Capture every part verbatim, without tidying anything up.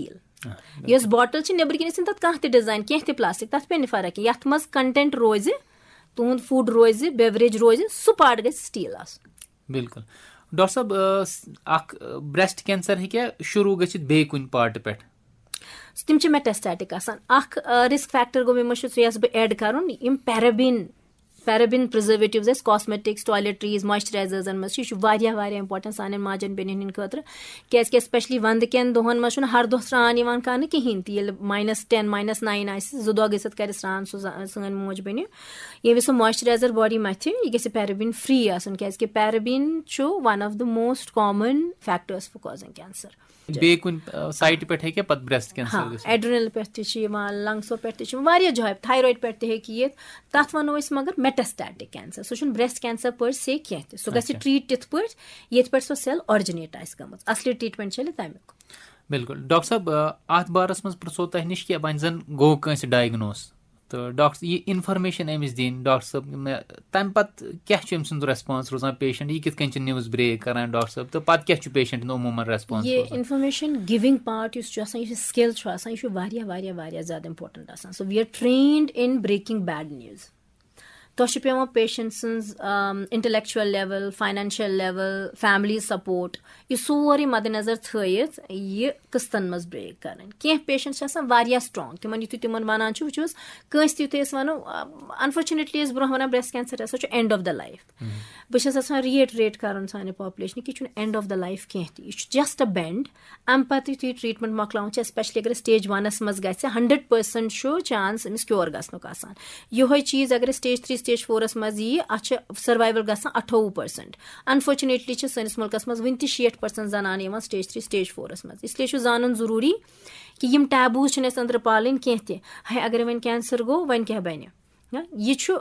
Steel. یۄس bottle چھِ، نیٚبرۍ کِنۍ ٲسِن تَتھ کانٛہہ تہِ ڈِزاین، کینٛہہ تہِ پلاسٹک، تَتھ پیٚیہِ نہٕ فرق کینٛہہ۔ یَتھ منٛز کنٹینٹ روزِ، تُہُنٛد فوڈ روزِ، بیوریج روزِ، سُہ پارٹ گژھِ سٹیٖل آسُن۔ بِلکُل۔ ڈاکٹر صٲب، آ، س-، اکھ، آ، برٛیسٹ کینسر ہیٚکیٛاہ شروٗع گٔژھِتھ بیٚیہِ کُنہِ پارٹہٕ پٮ۪ٹھ؟ تِم چھِ میٹاسٹیٹک آسان۔ اکھ، آ، رسک فیکٹر گوٚو مےٚ مٔشِتھ، سُہ یَژھٕ بہٕ ایڈ کرُن، یِم پیرابین، پیرابین پرزرویٹیوز اَسہِ کاسمیٹکس، ٹویلیٹریز، مویسچرائزرزن منٛز چھِ، یہِ چھُ واریاہ واریاہ امپورٹنٹ سانٮ۪ن ماجن بیٚنٮ۪ن ہٕنٛدِ خٲطرٕ، کیازِ کہِ اسپیشلی وندٕ کٮ۪ن دۄہن منٛز چھُنہٕ ہر دۄہ سرٛان یِوان کرنہٕ کِہینۍ تہِ۔ ییٚلہِ ماینس ٹین، ماینس ناین آسہِ، زٕ دۄہ گٔژھِتھ کرِ سرٛان سُہ ز-، سٲنۍ موج بیٚنہِ۔ ییٚمہِ وِزِ سُہ مویسچرائزر باڈی متھِ، یہِ گژھِ پیرابین فری آسُن، کیازِ کہِ پیرابین چھُ one of the most common factors for causing cancer۔ بیٚیہِ کُنہِ، آ، سایٹہِ پٮ۪ٹھ ہیٚکیٛاہ پتہٕ برٛیسٹ کینسر ہاں، گٔژھِتھ؟ ایڈرینل پٮ۪ٹھ تہِ چھِ یِوان، لنگسو پٮ۪ٹھ تہِ چھِ یِوان، واریاہ جایہِ، تھایرایڈ پٮ۪ٹھ تہِ ہیٚکہِ یِتھ۔ تَتھ وَنو أسۍ مگر میٹاسٹیٹک کینسر، سُہ چھُنہٕ برٛیسٹ کینسر per se کینٛہہ تہِ، سُہ گژھِ اچھا۔ ٹریٖٹ تِتھ پٲٹھۍ یِتھ پٲٹھۍ سۄ سیل آرجِنیٹ آسہِ گٔمٕژ، اصلی ٹریٖٹمنٹ چھےٚ تَمیُک۔ بِلکُل۔ ڈاکٹر صٲب، آ، اَتھ بارَس منٛز پرٛژھو تۄہہِ نِش کہِ وۄنۍ زَن گوٚو کٲنٛسہِ ڈایگنوز، تہٕ ڈاکٹر، یہِ انفارمیشن أمِس دِنۍ، ڈاکٹر صٲب، مےٚ، تَمہِ پَتہٕ کیٛاہ چھُ أمۍ سُنٛد ریسپانس روزان پیشنٹ، یہِ کِتھ کٔنۍ چھِ نیوز بریک کران ڈاکٹر صٲب، تہٕ پَتہٕ کیٛاہ چھُ پیشنٹ ہُنٛد عموٗماً ریسپانس یہِ روزان؟ انفارمیشن گِونگ پارٹ یُس چھُ آسان، یُس یہِ سکل چھُ آسان، یہِ چھُ واریاہ واریاہ واریاہ زیادٕ امپورٹنٹ آسان۔ So we are trained in breaking bad news۔ تۄہہِ چھُ پیٚوان پیشنٹ سٕنٛز، آم، intellectual level, financial level, family support, یہِ سورُے مدِ نظر تھٲیِتھ یہِ قٕسطن منٛز بریک کرٕنۍ۔ کینٛہہ پیشنٹ چھِ آسان واریاہ سٹرانگ، تِمن یُتھُے تِمن ونان چھِ، وٕچھِو حظ، کٲنٛسہِ تہِ یُتھُے أسۍ ونو، انفارچُنیٹلی ٲسۍ برونٛہہ ونان برٛیسٹ کینسر ہسا چھُ اینڈ آف دا لایف۔ بہٕ چھَس یژھان ریٹریٹ کرُن سانہِ پاپولیشنہِ کہِ یہِ چھُنہٕ اینڈ آف دا لایف کینٛہہ تہِ، یہِ چھُ جسٹ ا بینڈ۔ امہِ پتہٕ یُتھُے ٹریٹمنٹ مۄکلاوُن چھُ، اسپیشلی اگر سٹیج ونس منٛز گژھِ، ہنڈریڈ پرسنٹ چھُ چانس أمِس کیور گژھنُک آسان۔ یِہوٚے چیٖز اگر سٹیج تھری، سٹیج فورس منٛز ییہِ، اتھ چھِ سروایول گژھان اٹھووُہ پرسنٹ۔ انفارچُنیٹلی چھِ سٲنِس مُلکس منٛز وُنہِ تہِ شیٹھ پرسنٹ زنانہٕ یِوان سٹیج تھری، سٹیج فورس منٛز۔ اس لیے چھُ زانُن ضروٗری کہِ یِم ٹیبوز چھِنہٕ اَسہِ أنٛدرٕ پالٕنۍ کینٛہہ تہِ۔ ہے، اگر وۄنۍ کینسر گوٚو، وۄنۍ کیٛاہ بنہِ؟ ہا، یہِ چھُ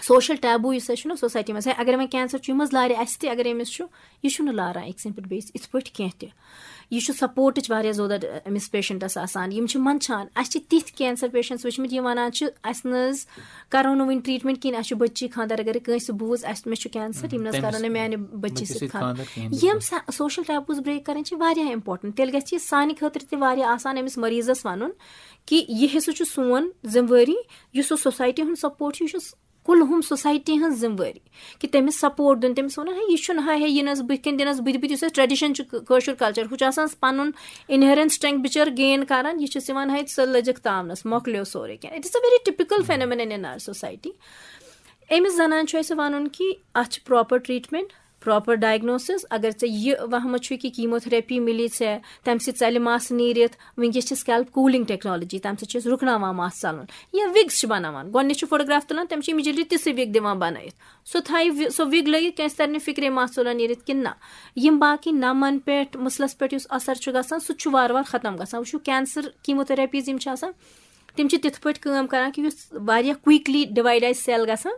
سوشل ٹیبو یُس اَسہِ چھُنہ سوسایٹی منٛز، ہے، اگر وۄنۍ کینسر چھُ، یہِ مہ حظ لارِ اَسہِ تہِ، اگر أمِس چھُ، یہِ چھُنہٕ لاران أکۍ سٕنٛدِ پٮ۪ٹھ بیٚیِس یِتھ پٲٹھۍ کینٛہہ تہِ۔ یہِ چھُ سپورٹٕچ واریاہ ضوٚرَتھ أمِس پیشنٹَس آسان۔ یِم چھِ منٛدچھان، اَسہِ چھِ تِتھۍ کینسر پیشنٹس وٕچھمٕتۍ، یِم وَنان چھِ، اَسہِ نہ حظ کَرو نہٕ وٕنہِ ٹریٹمنٹ کِہیٖنۍ، اَسہِ چھُ بٔچی خانٛدر، اگر کٲنٛسہِ بوٗز، اَسہِ، مےٚ چھُ کینسر، یِم نہ حظ تٔمِس کَرو نہٕ میٛانہِ بٔچی بٔچی سۭتۍ سۭتۍ خانٛدر۔ خانٛدر کِہیٖنۍ۔ یِم سا-، سوشل ٹیبوز بریک کَرٕنۍ چھِ واریاہ امپورٹنٹ۔ تیٚلہِ گژھِ یہِ سانہِ خٲطرٕ تہِ واریاہ آسان أمِس مریضس وَنُن کہِ یہِ ہسا چھُ سون ذمہٕ وٲری، یُس سُہ سوسایٹی ہُنٛد سپورٹ چھُ، یہِ چھُ کُلہُم سوسایٹی ہٕنٛز ذمہٕ وٲری کہِ تٔمِس سپورٹ دیُن، تٔمِس وَنُن، ہے، یہِ چھُنہٕ، ہے، ہے، یہِ نہٕ حظ بٕتھِ کَنۍ دِنَس بٕتھِ بٕتھِ، یُس اَسہِ ٹریڈیشن چھُ، کٲ-، کٲشُر کلچر، ہُہ چھُ آسان پَنُن انہیرنٹ سٹرینتھ بِچٲر گین کران، یہِ چھُس یِوان، ہے، ژٕ لٔجِکھ تاونَس، مۄکلیو سورُے کینٛہہ۔ It is a very typical phenomenon in our society۔ أمِس زنان چھُ اَسہِ وَنُن کہِ اَتھ چھِ پراپر ٹریٹمنٹ، پراپر ڈائگنوسس۔ اگر ژےٚ یہِ وہمہٕ چھُے کہِ کیموتھراپی مِلی ژےٚ، تَمہِ سۭتۍ ژَلہِ مَس نیٖرِتھ، وٕنکیٚس چھِ سکیلپ کوٗلنگ ٹیکنالوجی، تَمہِ سۭتۍ چھِ أسۍ رُکناوان مَس ژَلُن۔ یا وِگس چھِ بَناوان، گۄڈٕنِچ چھِ فوٹوگراف تُلان، تٔمِس چھِ امیجیٹلی تِژھٕے وِگ دِوان بَنٲیِتھ۔ سُہ تھایہِ وِ-، سۄ وِگ لٲگِتھ، کٲنٛسہِ تَرِ نہٕ فِکرے مَس ژوٚلان نیٖرِتھ کِنہٕ نہ۔ یِم باقٕے نَمَن پٮ۪ٹھ، مٕسلَس پٮ۪ٹھ یُس اثر چھُ گژھان، سُہ تہِ چھُ وارٕ وارٕ ختم گژھان۔ وٕچھِو، کینسر کیموتھراپیٖز یِم چھِ آسان، تِم چھِ تِتھ پٲٹھۍ کٲم کران کہِ یُس واریاہ کوئکلی ڈِوایڈ آسہِ سیل گژھان،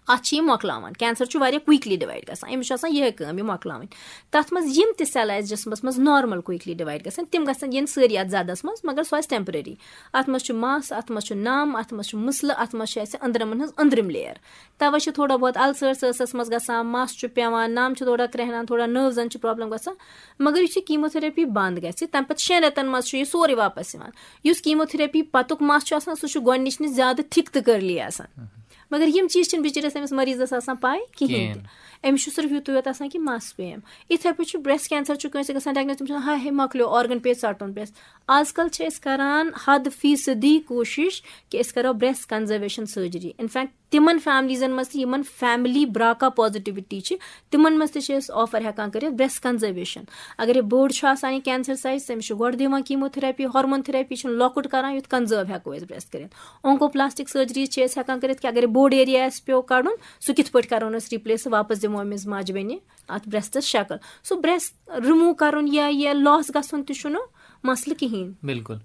اَتھ چھِ یہِ مۄکلاوان۔ کینسر چھُ واریاہ کوئکلی ڈِوایڈ گژھان، أمِس چھُ آسان یِہے کٲم، یہِ مۄکلاوٕنۍ۔ تَتھ منٛز یِم تہِ سیل آسہِ جسمس منٛز نارمل کوئکلی ڈِوایڈ گژھان، تِم گژھن یِن سٲری اَتھ زدس منٛز، مگر سُہ آسہِ ٹیمپرری۔ اَتھ منٛز چھُ مَس، اَتھ منٛز چھُ نَم، اَتھ منٛز چھُ مٕسلہٕ، اَتھ منٛز چھُ اَسہِ أنٛدرمن ہٕنٛز أنٛدرِم لیئر۔ توے چھِ تھوڑا بہت السرس ٲسس منٛز گژھان، مَس چھُ پیوان، نَم چھُ تھوڑا کرٛہنان، تھوڑا نٔروزن چھِ پرابلم گژھان۔ مگر یُتھُے کیموتھراپی بنٛد گژھِ، تَمہِ پَتہٕ شٮ۪ن رٮ۪تن منٛز چھُ یہِ سورُے واپس یِوان۔ یُس کیموتھراپی پَتُک مَس چھُ آسان، سُہ چھُ گۄڈٕنِچ نِش زیادٕ تھِک تہٕ کٔرلی آسان۔ مگر یِم چیٖز چھِنہٕ بِچٲرِس أمِس مریضس آسان پاے کِہینۍ تہِ۔ کِہینۍ۔ أمِس چھُ صرف یُتُے یوت آسان کہِ مَس پیٚیَم۔ یِتھے پٲٹھۍ چھُ برٛیسٹ کینسر چھُ کٲنٛسہِ گژھان ڈائگنوز، تٔمِس چھُ آسان، ہاے ہے، مۄکلیو، آرگن پیٚیہِ ژَٹُن برٛیسٹ۔ آز کل چھِ أسۍ کران حد فیصدی کوٗشِش کہِ أسۍ کرو برٛیسٹ کنزرویشن سرجری۔ انفیکٹ تِمن فیملیزن منٛز تہِ یِمن فیملی براکا پازیٹیوٹی چھِ، تِمن منٛز تہِ چھِ أسۍ آفر ہٮ۪کان کٔرِتھ برٛیسٹ کنزرویشن۔ اگر یہِ بوٚڑ چھُ آسان یہِ کینسر سائز، تٔمِس چھُ گۄڈٕ دِوان کیموتھراپی، ہارمون تھراپی چھُنہٕ لۄکُٹ کران، یُتھ کنزرو ہٮ۪کو أسۍ برٛیسٹ کٔرِتھ۔ اونکوپلاسٹک سرجری چھِ أسۍ ہٮ۪کان کٔرِتھ کہِ اگر یہِ بوٚڑ ایریا آسہِ پیٚو کڑُن، سُہ کِتھ پٲٹھۍ کرون أسۍ ریپلیس، واپس دِمو أمِس ماجہِ بیٚنہِ اتھ برٛیسٹس شکل۔ سُہ برٛیسٹ رِموٗ کرُن یا یہِ لاس گژھُن تہِ چھُنہٕ مسلہٕ کِہینۍ۔ بِلکُل۔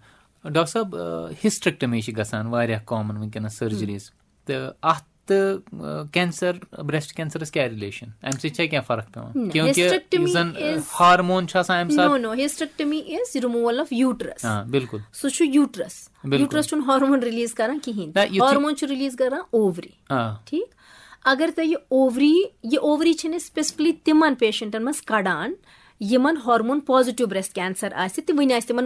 ڈاکٹر صٲب، آ، ہسٹریکٹمی چھِ گژھان واریاہ کامن وٕنکیٚنس سرجریز، تہٕ اتھ تہٕ، آ، کینسر، برٛیسٹ کینسرس کیٛاہ رِلیشن؟ امہِ سۭتۍ چھا کینٛہہ فرق پیوان؟ نہ، کیونکہ hysterectomy یُس زن، آ، is ہارمون چھُ آسان امہِ ساتہٕ۔ No, no, hysterectomy is removal of uterus. آ، بِلکُل۔ سُہ چھُ یوٗٹرس۔ بِلکُل۔ یوٗٹرس چھُنہٕ ہارمون ریلیز کران کِہینۍ۔ نہ، یُتھُے ہارمون چھُ ریلیز کران اووری۔ آ۔ ٹھیٖک؟ اگر تۄہہِ یہِ اووری، یہِ اووری چھِنہٕ أسۍ specifically تِمن پیشنٹن منٛز کڑان یِمن ہارمون پازیٹیو برٛیسٹ کینسر آسہِ تہٕ وٕنہِ آسہِ تِمن